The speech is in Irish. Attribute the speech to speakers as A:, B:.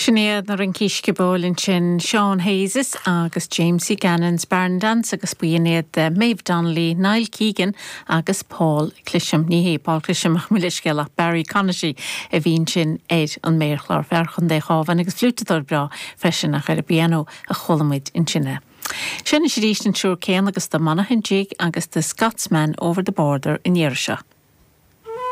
A: Sin iad na rincí sciobóil ansin, Seán Hayes agus Jamesie Gannon's Barn Dance agus b'in iad Maeve Donnelly, Niall Keegan agus Paul Clisham. Ní hé Paul Clisham ach mo leithscéal ach Barry Conaty a bhí ansin ar an méarchlár, fear Chontae an Chabháin agus fliúiteadóir breá freisin ach ar an bpianó a chuala muid ansin é. Seo anois arís an triúr céanna agus The Monaghan Jig agus The Scotsman Over the Border an iarraidh seo.